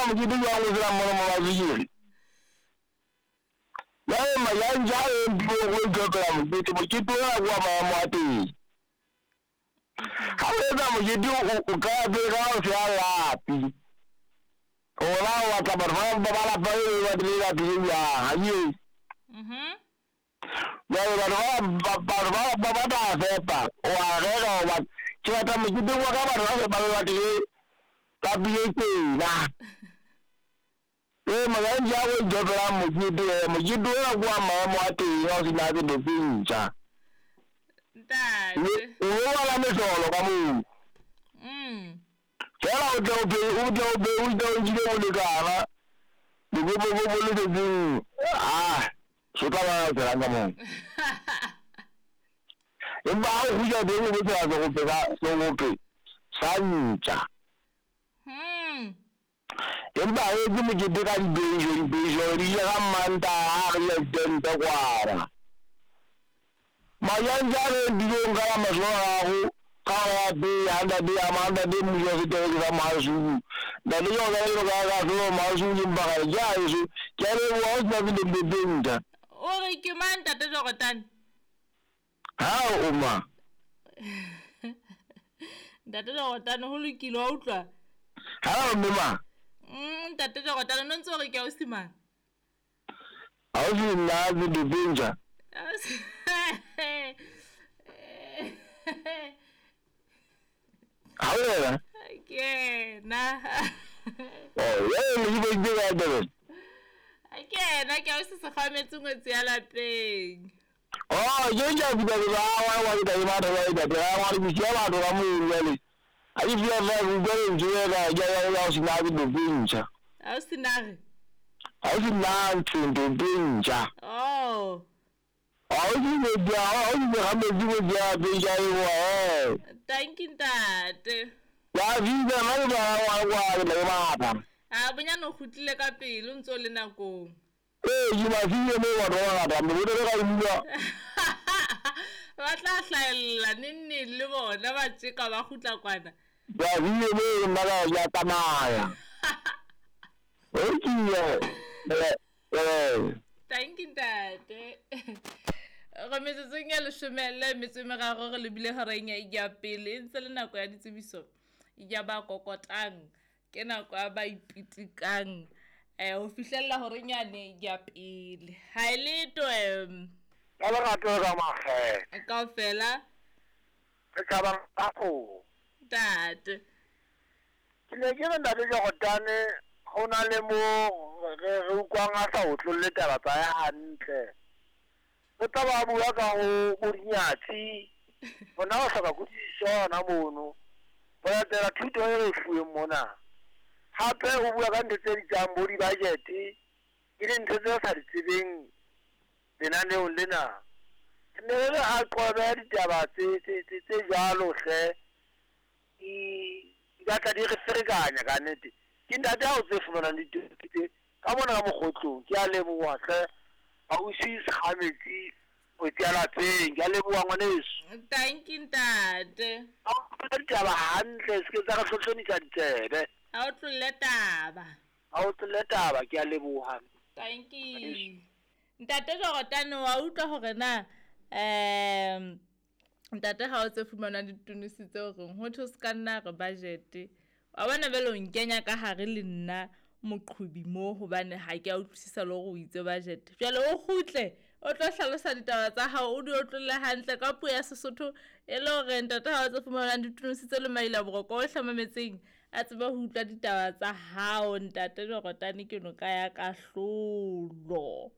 mokete jwang o sena mmono mo batswekere? Jwale Mayanja a re mpileng go itlhophela mokete, mokete ona ke wa maemo a teng. Ga o etsa mokete o qala pele ka ho seha lapi. Rona o batla batho ba ba lapa le le batho le lapi le jwang, ha ke eo. Jwale batho ba batho ba ba tla fepa, o a reka o batla ke batla moketeng wa ka batho ba fepa le batho le lapi le tjena. Ee, Mayanja a go itlhophela mokete, mokete ona ke wa maemo a teng ha o sena selo se ntjha. Ntate. O lo bala mehlolo ka moo. Fela o tle o be o tle o be o tle o jile bolekana. Dikopokopo le setseng ah so tla ba tselang ka moo. Empa ha o kgutla teng o bo tsela segope sa segope sa ntja. Empa ha o etse mokete ka dibeiso, dibeiso di ja ka Mmantaha re ya ditente kwana. Mayanja a re dilong ka la masome a mararo ka hora ya pele ha ntate a ma ntate mmuso wa setereke sa Mahasuku. Ntate ke ona le ka ka solo Mahasuku ke mpagane ke a eso. Ke a leboha o sena selo tse ntjha. O re ke mang ntate Jordan? Ha o ma. Ntate Jordan ho lokile wa utlwa? Ha o mme ma. Ntate Jordan no ntse o re ke ausi mang? Ausi nna selo tse ntjha. Ha o yena? Ke na. Oh, ye le ke ke ka Durban. Ke na ke ausi Sekgwametse ngwetsi ya lapeng. Oh, ke ke ke ke ba wa wa ke ba ba ba ba wa ke ke ba ba mo jwale. A ke fia fa go go ntse ka ya ya ya se na ke do ntjha. Ausi na re? Ausi na ntse ndo ntjha. Oh. Ausi ne dia, ausi ne ga metsi go dia be ja e wa eh. Thank you ntate. Ya visa na ba wa wa le ba ba. A bonyane o kgutlile ka pele o ntse o le nakong. Ee, ke ba file mo batho ba bangata, mme bo ka bua. Ba tla hlahella neng neng le bona ba tjeka ba kgutla kwana. Ba file mo nna ka ya tsamaya. Okay. Thank you ntate. Re metsotsong ya leshome le metso e meraro re lebile horeng ya pele e ntse le nako ya ditsebiso ya ba kokotang ke nako ya ba ipitikang ho fihlella horeng yane ya pele. Ha e letho Ka lerato ka makgethe. Kaofela. Re thabang ka kgoho. Ntate. Ke ne ke re ntate Jordan ho na le mo re utlwang a sa otlolle taba tsa hae hantle. O tla ba bua ka ho bodinyatsi. Bona o hloka kutlwisiso hona mono. Ho latela thuto e re fuweng mona. Hape o bua ka ntho tse bitsang bo di-budget, e leng ntho tse re sa di tsebeng lenaneong lena. Ne re re a qobe ditaba tse jwalo hle. Di batla di re ferekanya ka nnete. Ke ntate ha o tse fumanang ditaba tse ka mona ka mokgotlong. Ke a leboha hle. Ausi Sekgametsi o ya lapeng. Ke a leboha ngwaneso. Thank you ntate. Ha o ditaba hantle se ke tsa re hlohlonisa ditsebe. Ha o tlolle taba. Ha o tlolle taba, ke a leboha. Thank you. Ntate Jordan wa utlwa hore na ntate ha o tse fumana ditunusi tseo reng ho thwe se ka nna re budget. Wa bona jwale o nkenya ka hare le nna moqhubi mo hobane ha ke a utlwisisa le hore o itse budget. Jwale o kgutle o tlo hlalosa ditaba tsa hao o di otlolle hantle ka puo ya Sesotho e le hore ntate ha o tse fumanang ditunusi tse le maila boroko o hlamametseng a tsebe ho utlwa ditaba tsa hao ntate Jordan ke noka ya kahlolo.